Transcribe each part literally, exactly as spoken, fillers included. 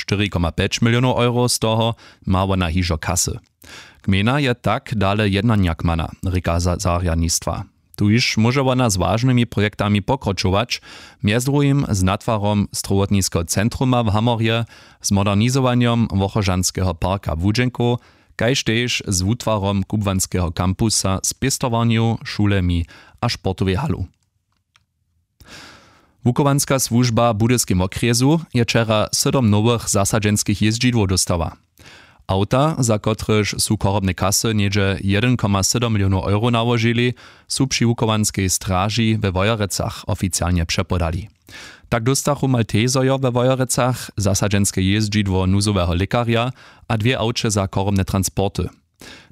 štyri koma pjeć milionow euro, z toho ma wona hižo kasy. Gmejna je tak dale jednanja kmana, rěka zarjadnistwa. Tuž móže wona z wažnymi projektami pokročować, mjez druhim z natwarom strowotniskeho centruma w Hamorje, z modernizowanjom wochožanskeho parka w Łudźenkow, kaž tež z wutwarom kubłanskeho kampusa z pěstowarnjow, šulemi a sportowej halu. Wuchowanska słužba w budyskej wokrjesu je wčera sydom nowych zasadźenskich jězdźidłow dóstała. Awta, za kotrež su chorobne kasy něhdźe jedyn koma sydom milionow euro nałožili, su při wuchowanskej straži we wojerecach oficialnje přepodali. Tak dóstachu maltezojo we wojerecach zasadźenske jězdźidło nuzoweho lěkarja a dwě awće za chorobne transporty.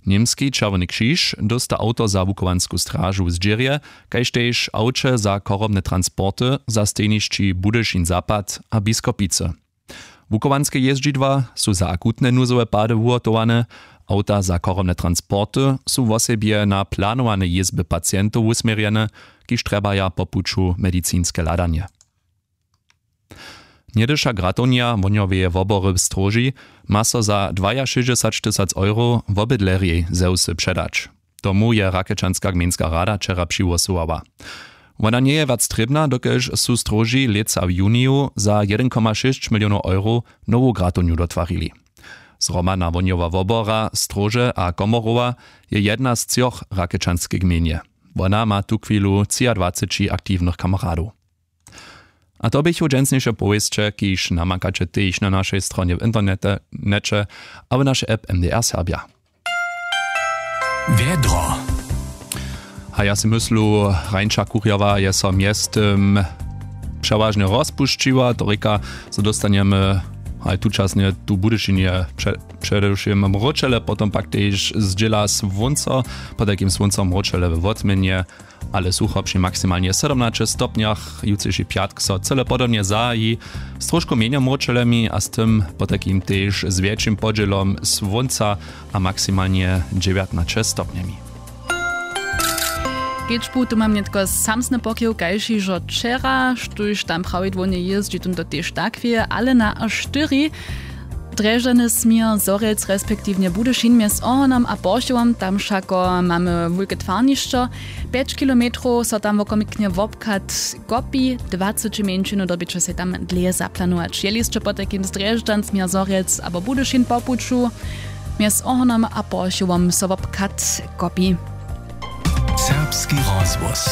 Němski čerwjeny křiž dósta awto za wuchowansku stražu w zdźěrje, kaž tež awće za chorobne transporty za stejnišći budyšin zapad a biskopicy. Wuchowanske jězdźidła su za akutne nuzowe pady wuhotowane. Awta za chorobne transporty su wosebje na planowane jězby pacientow wusměrjene, kiž trjebaja po puću medicinske hladanje. Něhdyša gratownja wohnjoweje wobory w stróži ma so za dwajašěsćdźesać tysac euro wobydlerjej ze wsy předać. Tomu je rakečanska gmejnska rada wčera přihłosowała. Wona njeje wjac trěbna, dokelž su stróži lětsa w juniju za jedyn koma šěsć milionow euro nowu gratownju dotwarili. Zhromadna wohnjowa wobora stróže a komorowa je jedna z třoch w rakečanskej gmejnje. Wona ma tuchwilu třiadwaceći aktiwnych kameradow. A to běchu dźensniše powěsće, kiž namakaće tež na našej stronje w interneće abo naše app mdr serbja. Wjedro. A ja sej myslu, hrańša kurjowa je so mjeztym přewažnje rozpušćiła, to rěka, zo dóstanjemy haj tučasnje tu w budyšinje předewšěm mróčele, potom pak tež zdźěla słónco, potajkim słónco mróčele we wotměnje, ale sucho při maksimalnje sydomnaće stopnjach. Jutřiši pjatk so cyle podobnje zahaji, z trošku mjenjo mróčelemi a z tym potajkim tež z wjetšim podźělom słónca a maksimalnje dźewjatnaće stopnjemi. Kedźbu tu mam nětko samsny pokiw kaž hižo wčera, štóž tam prawidłownje jězdźi tón to tež tak wě, ale na štyri, drježdźany směr zhorjelc respektiwnje budyšin mjez ohonom a porchowom, tam wšako mamy wulke twarnišćo. Pjeć kilometrow so tam wokomiknje wobchad kopi, dwaceći mjeńšinu dyrbiće sej tam dlěje zaplanować jeli sće potajkim z drježdźan směr zhorjelc abo budyšin po puću, mjez ohonom a porchowom so wobchad kopi. Serbski rozhłos.